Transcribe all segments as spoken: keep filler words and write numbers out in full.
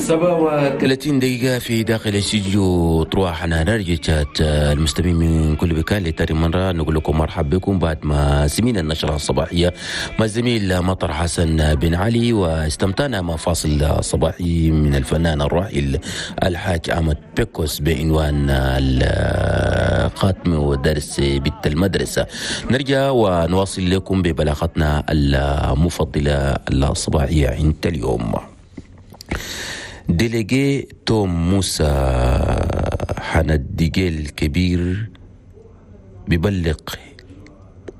سبعة وثلاثين دقيقة في داخل استوديو طروحنا نرجع المستمعين من كل مكان لتاني مرة نقول لكم مرحبا بكم بعد ما سمينا النشرة الصباحية مع الزميل مطر حسن بن علي، واستمتعنا مع فاصل صباحي من الفنان الراحل الحاج أحمد بيكوس بعنوان الخاتم ودرس بنت المدرسة. نرجع ونواصل لكم ببلاغتنا المفضلة الصباحية عند اليوم. délégué توم موسى حنا الدجيل الكبير ببلغ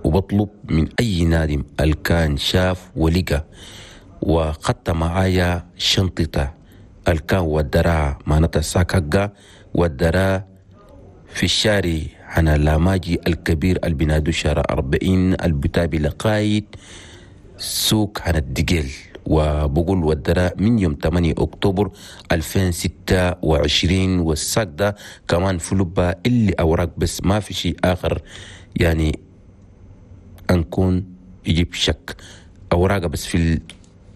وبطلب من أي نادم الكان شاف ولقى وخط معايا شنطته الكان والدراع معناتها ساكاكا والدراع في الشارع حنا لاماجي الكبير البنادو شارع أربعين البتابي لقايد سوق حنا الدجيل، وبقول والدراء من يوم ثمانية أكتوبر ألفين وستة وعشرين. والساق ده كمان فلوبا اللي أوراق بس ما في شيء آخر، يعني أنكون يجيب شك أوراق بس في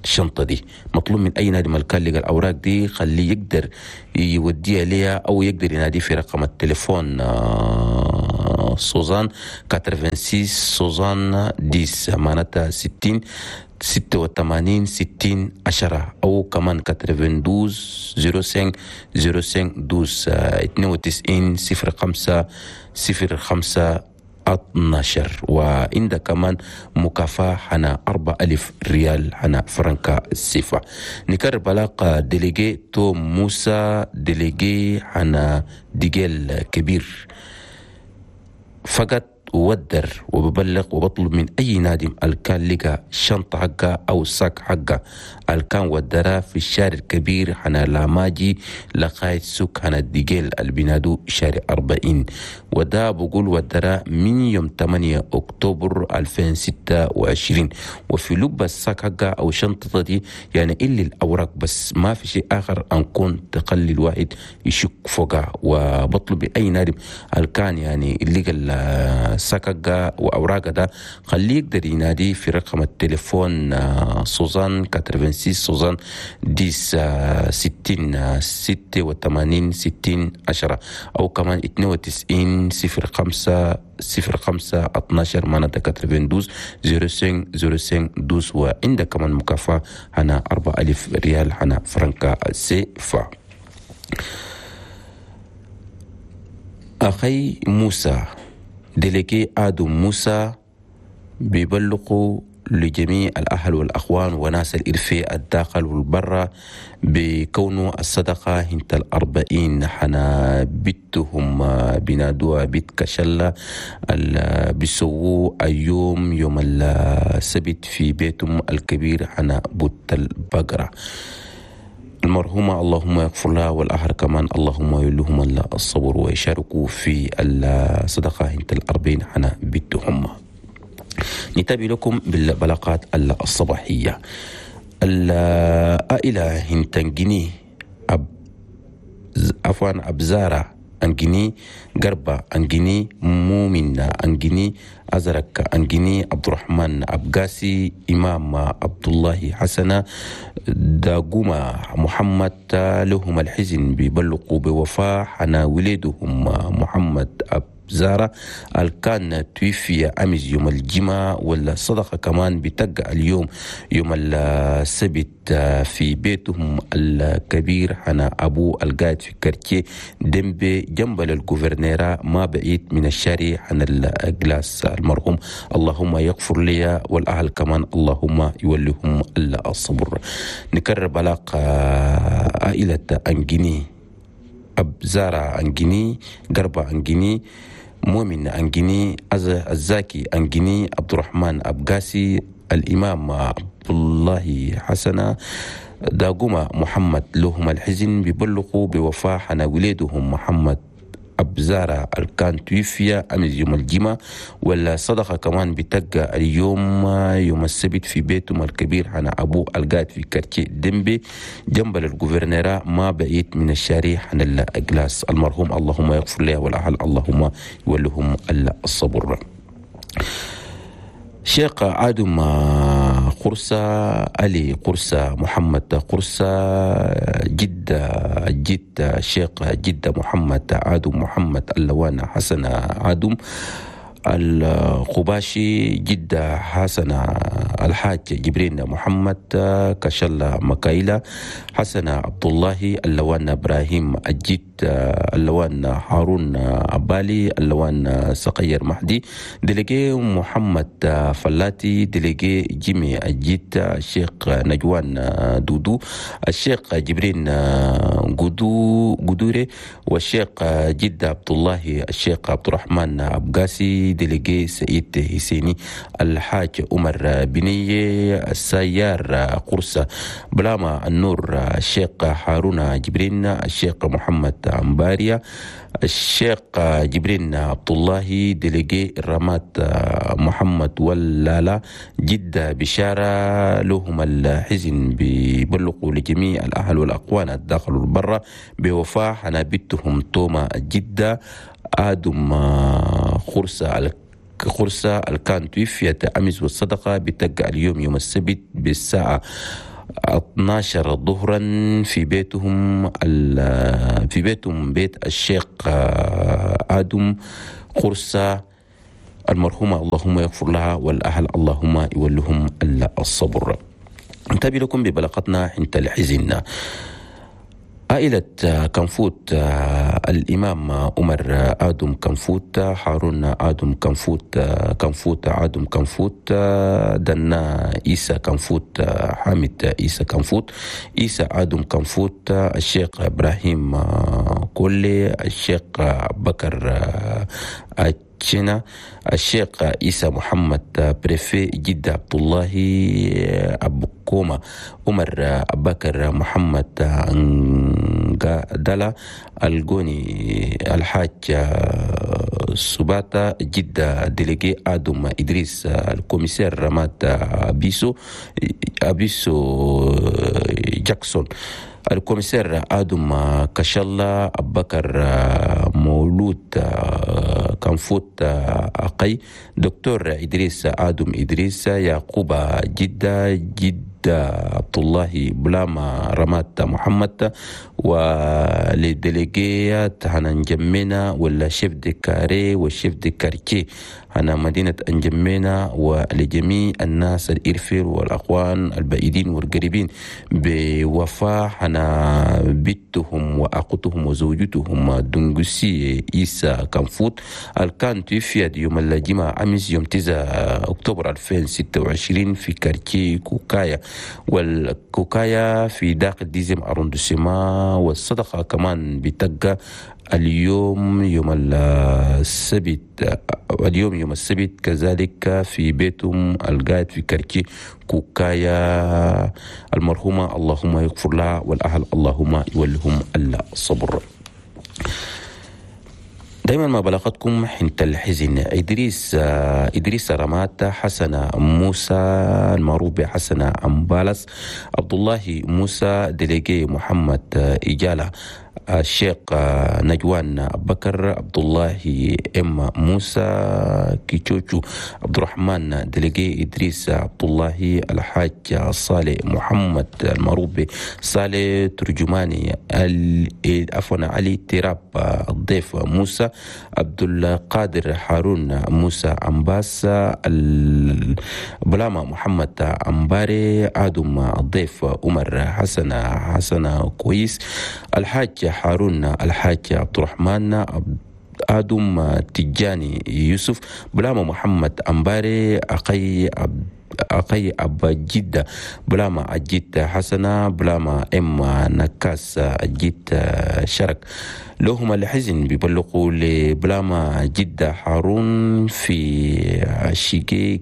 الشنطة دي. مطلوب من أي نادي ملكان لقى الأوراق دي خليه يقدر يوديها ليها أو يقدر ينادي في رقم التليفون soixante quatre-vingt-six soixante-dix معناتها ستين ستة وثمانين ستين عشرة، أو كمان quatre-vingt-douze zéro cinq zéro cinq douze اثنين وتسعين صفر خمسة صفر خمسة اثناشر. وعند كمان مكافأة حنا أربعة ألف ريال حنا فرنكا السيفا. نكرر بلاقة délégué توم موسى délégué حنا ديجيل كبير فقط وودر وببلغ وبطلب من أي نادم الكان لقى شنطة حقه أو sac حقه الكان ودرا في الشارع الكبير حنا لاماجي لقاية سوق حنا الدجيل البنادو شارع أربعين، ودا بقول ودرا من يوم ثمانية أكتوبر ألفين وستة وعشرين. وفي لب ال sac حقه أو شنطة دي يعني إلا الأوراق بس ما في شيء آخر أنكون تقلل واحد يشك فوقها. وبطلب أي نادم الكان يعني اللي قال ساكاكا وأوراق ده خليه يقدر ينادي في رقم التليفون soixante quatre-vingt-six soixante-dix ستين ستة وثمانين ستين عشرة، أو كمان اثنين وتسعين صفر خمسة صفر خمسة اثناشر معناتها quatre-vingt-douze zéro cinq zéro cinq douze. وعندك كمان مكافأة هنا أربعة ألف ريال هنا فرنكا سيفا. أخي موسى délégué آدم موسى بيبلغوا لجميع الأهل والأخوان وناس الإرفاء الداخل والبرة بكونه الصدقة هنت الأربعين حنا بيتهم بنادوها بيت كشلة بيسووا اليوم يوم السبت في بيتهم الكبير حنا بوت البقرة. المرحومة اللهم يغفر لها والأهل كمان اللهم يلهم الصبر ويشاركوا في الصدقة هنت الأربعين حنا بيتهم. نتابع لكم بالبلاغات الصباحية. العائلة هنتنجني أب عفوا أبزارة أنجني قربة أنجني مؤمن أنجني أزرق أنجني عبد الرحمن أبقاسي إمام عبد الله حسنة داقوما محمد لهم الحزن بيبلغوا بوفاة حنا ولدهم محمد أب زارة الكان توفي أمس يوم الجمعة، والصدقة كمان بتقع اليوم يوم السبت في بيتهم الكبير حنا أبو القاعد في quartier دمبي جنب ال gouvernorat ما بعيد من الشارع حنا الجلاس المرحوم اللهم يغفر لي والأهل كمان اللهم يوليهم الصبر. نكرر بلاغ عائلة أنجيني أبزارة أنجيني قربة أنجيني مؤمن أنجيني الزاكي أنجيني عبد الرحمن أبقاسي الإمام عبد الله حسنة داقوما محمد لهم الحزن بيبلغوا بوفاة حنا ولادهم محمد أبزارة الكان توفي أمس يوم الجمعة، والصدقة كمان بتقى اليوم يوم السبت في بيتهم الكبير حنا أبو القاعد في quartier دمبي جنب ال gouvernorat ما بعيد من الشارع حنا الجلاس المرحوم اللهم يغفر له والأهل اللهم يولهم الصبر. شيخ آدم قرصة، علي قرصة، محمد قرصة، جدة جدة الشيخ جدة محمد عادم محمد اللوان حسن عادم القباشي، جدة حسن الحاج جبرين محمد كشلة مكايلة، حسن عبد الله اللوان إبراهيم الجد اللوان هارون أبالي اللوان سقير مهدي، délégué محمد فلاتي، délégué جيمي الجد الشيخ نجوان دودو، الشيخ جبرين قدو قدوري، والشيخ جد عبد الله الشيخ عبد الرحمن أبقاسي، délégué سعيد حسيني، الحاج عمر بنية السيار قرصة، بلاما النور الشيخ هارون جبرين، الشيخ محمد أمباريا، الشيخ جبرين عبد الله، délégué رمات محمد ولالا، جدة بشارة لهم الحزن بيبلغوا لجميع الأهل والأقوان الداخل والبرة بوفاة حنابتهم توما جدة آدم خرسة خرسة الكان توفيت أمس، والصدقة بتقع اليوم يوم السبت بالساعة اثنا عشر ظهرا في بيتهم في بيتهم بيت الشيخ آدم خرسة المرحومة، اللهم يغفر لها والأهل اللهم يولهم الصبر. نتابع لكم ببلاغتنا حنت الحزن. عائلة كنفوت، الإمام عمر آدم كنفوت، هارون آدم كنفوت، كنفوت آدم كنفوت، دنا عيسى كنفوت، حامد عيسى كنفوت، عيسى آدم كنفوت، الشيخ إبراهيم كولي، الشيخ بكر تشينا، الشيخ عيسى محمد préfet جدة عبد الله أبو كوما، عمر بكر محمد دلا الجوني، الحاج سباتا جدة، délégué آدم إدريس، ال commissaire رمات أبيسو أبيسو جاكسون، ال commissaire آدم كشلا، بكر مولود كنفوت أقي، دكتور إدريس آدم إدريس، يعقوب جدة، جدة عبد الله بلاما رمات محمد، و les délégués هنا نجمينا ولا chefs de carré وال chefs de quartier هنا مدينة أنجمينا، ولجميع الناس الإرفير والأخوان البعيدين والقريبين بوفاة هنا بنتهم وأختهم وزوجتهم دنجسي إيسا كنفوت الكان توفيت يوم الجمعة أمس يوم تسعة أكتوبر ألفين وستة وعشرين في quartier كوكايا والكوكايا في داخل dixième arrondissement. والصدقة كمان بتقى اليوم يوم السبت، اليوم يوم السبت كذلك في بيتهم القاعد في quartier كوكايا. المرحومة اللهم يغفر لها والأهل اللهم يولهم الصبر. دائما ما بلغتكم حنت الحزن. إدريس إدريس رمات، حسن موسى المعروف بحسن أمبالس، عبد الله موسى، délégué محمد إجالة، الشيخ نجوان بكر، عبد الله ام موسى كيتشوتشو، عبد الرحمن، délégué ادريس عبد الله، الحاج صالح محمد المعروف صالح ترجماني، عفوا علي تراب، الضيف موسى، عبد القادر هارون موسى أمباس، بلاما محمد أمباري، آدم الضيف عمر حسن حسن كويس، الحاج هارون، الحاج عبد الرحمن، آدم تجاني يوسف، بلاما محمد أمباري، أخي عبد أخي أبا جدة، بلاما أجيت حسنة، بلاما إم نكاس أجيت شرك. لهم الحزن بيبلغوا لبلاما جدة هارون في شيكيك،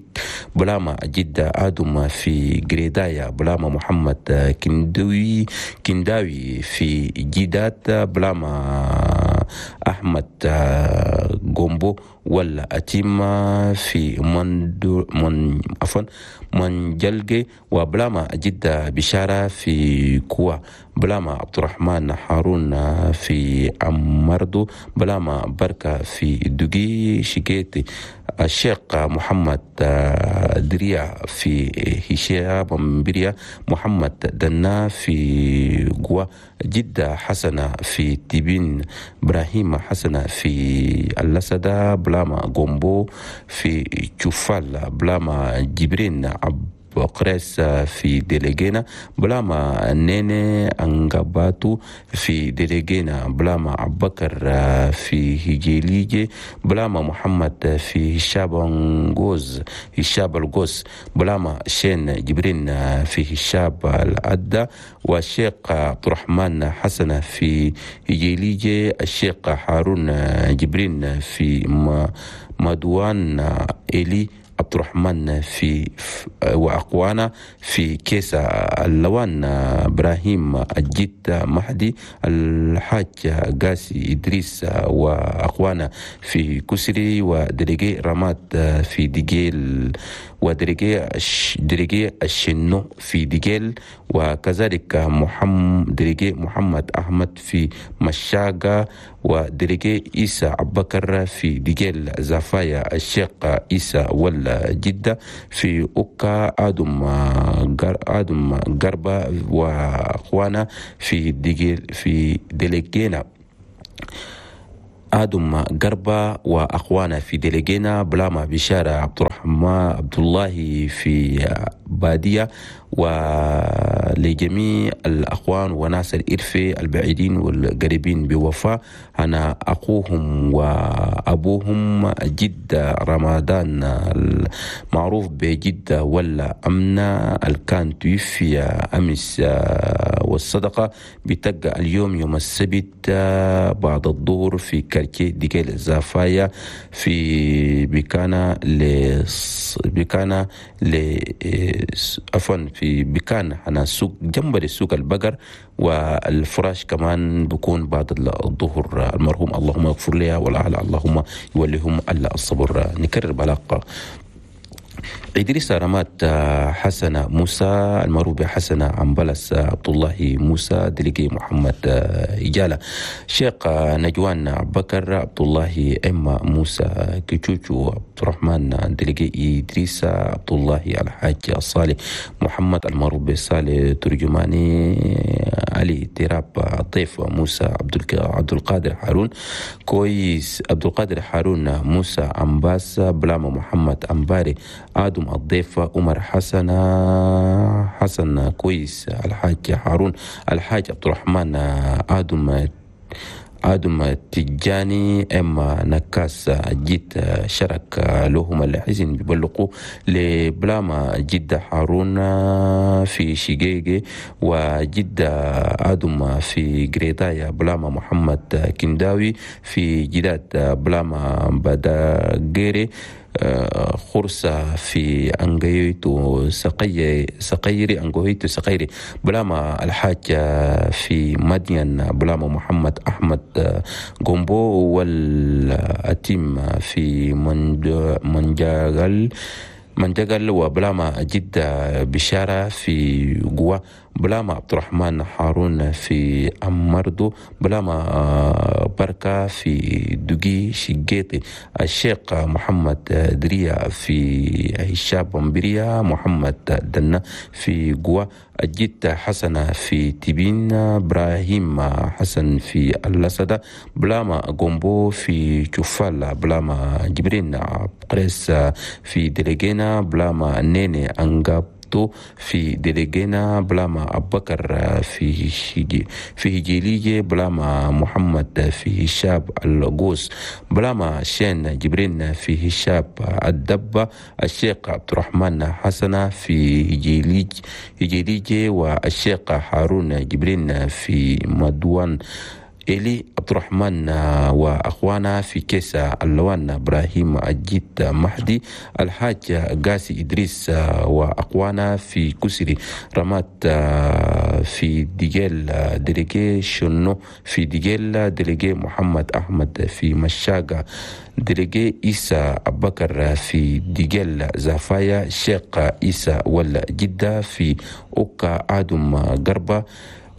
بلاما جدة آدم في جريدايا، بلاما محمد كندوي كنداوي في جدات، بلاما أحمد جومبو ولا أتيما في مندو من عفوا منجلجي، وبلاما جدة بشارة في كوا، بلاما عبد الرحمن هارون في أمردو، بلاما بركة في دوغي شيكيتي. الشيخ محمد دريا في هشام بريا، محمد دنا في جوا، جدة حسنة في تيبين، إبراهيم حسنة في اللسدة، بلاما غومبو في تشوفال، بلاما جبرين عب قريس في ديليجينا، بلاما نيني أنغاباتو في ديليجينا، بلاما عبكر في هجيليجي، بلاما محمد في هشابنغوز هشاب الغوز، بلاما شين جبرين في هشاب الأدى، والشيخ عبد الرحمن حسن في هجيليجي، الشيخ هارون جبرين في مدوان إلي عبد الرحمن في وأقوانا في كيسة اللوان، إبراهيم الجد مهدي، الحاج قاسي إدريس وأقوانا في كسري، ودريجي رماد في ديجيل، ودريجي دريجي الشنو في ديجيل، وكذلك محمد دريجي محمد أحمد في مشاقة، ودريجي إيسى عبكر في ديجيل زفايا، الشيخ إيسى ولا جدة في أوكا، آدم آدم قربة وأخوانا في ديجيل في ديليجينا، آدم قربة وأخوانا في ديليجينا، بلاما بشارة عبد الرحمن عبد الله في بادية، ولجميع الأخوان وناس الإرفي البعيدين والقريبين بوفاء، أنا أخوهم وأبوهم جدة رمضان المعروف بجدة ولا أمنة الكان توفي أمس، والصدقة بتبقى اليوم يوم السبت بعد الظهر في كارتيه ديكيل زافايا في بكانا ل بكانا ل عفوا في بكان أنا سوق جنب السوق البقر، والفراش كمان بكون بعد الظهر. المرحوم اللهم اغفر لها والأهل اللهم يوليهم الصبر. نكرر بلاقة إدريس رمات حسن موسى المعروف بحسن عمبلس، عبد الله موسى، دليجي محمد إجالة، شيخ نجوان بكر، عبد الله إما موسى كيتشوتشو، عبد الرحمن دليجي إدريس، عبد الله الحاج الصالح محمد المعروف بصالح ترجماني، علي تراب الضيف موسى، عبد القادر هارون كويس، عبد القادر هارون موسى أمباس، بلاما محمد أمباري، آدم الضيف عمر حسن حسن كويس، الحاج هارون، الحاج عبد الرحمن آدم آدم تجاني، إما نكاس جيت شرك لهم الحزن بيبلغوا لبلاما جدة هارون في شيجيجي، وجدة آدم في جريدايا، بلاما محمد كنداوي في جداد، بلاما بداغيري خرسة في أنجيتو سقي سقيري أنجويتو سقيري، بلاما الحاج في مدين، بلاما محمد أحمد جومبو والأتيم في منجاغل منجاغل، وبلاما جدة بشارة في جوا، بلاما عبد الرحمن هارون في أمردو، بلاما بركة في دوغي شيجيتي، الشيخ محمد دريا في هشام بمبريا، محمد دنا في جوا، الجد حسنة في تبين، إبراهيم حسن في اللسدة، بلاما غومبو في تشوفال، بلاما جبرين قريس في ديليجينا، بلاما نيني أنغاب في ديليجينا، بلاما أبكر في في هجيليجي، بلاما محمد في هشاب الغوس، بلاما شين جبرين في هشاب الدبة، الشيخ عبد الرحمن حسنة في هجيليج هجيليجي، والشيخ هارون جبرين في مدوان، إلي عبد الرحمن وأخوانا في كيسة اللوان، إبراهيم الجيت مهدي، الحاج قاسي إدريس وأخوانا في كسري، رمات في ديجيل، ديليجي شنو في ديجيل، ديليجي محمد أحمد في مشاقة، ديليجي إيسى أبكر في ديجيل زافايا، شيخ إيسى ولا جدة في أوكا، آدم قربة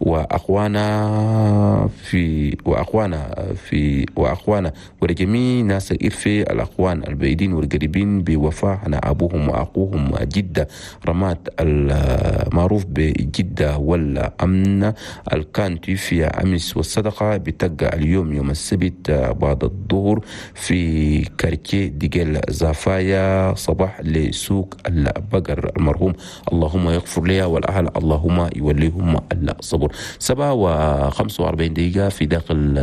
واخوانا في واخوانا في واخوانا ولجميع ناس الإرفي الاخوان البعيدين والقريبين بوفاة هنا ابوهم واخوهم جده رمات المعروف بجده والامن الكان توفي امس، والصدقة بتبقى اليوم يوم السبت بعد الظهر في quartier ديجل زافايا صباح لسوق البقر. المرحوم اللهم يغفر لها والأهل اللهم يوليهم الصبر. سبعة وخمسة وأربعين دقيقة في داخل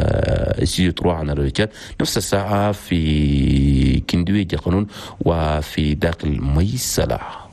استديو تروا عن الرجال، نفس الساعة في كندوي جقنون وفي داخل ميسلة.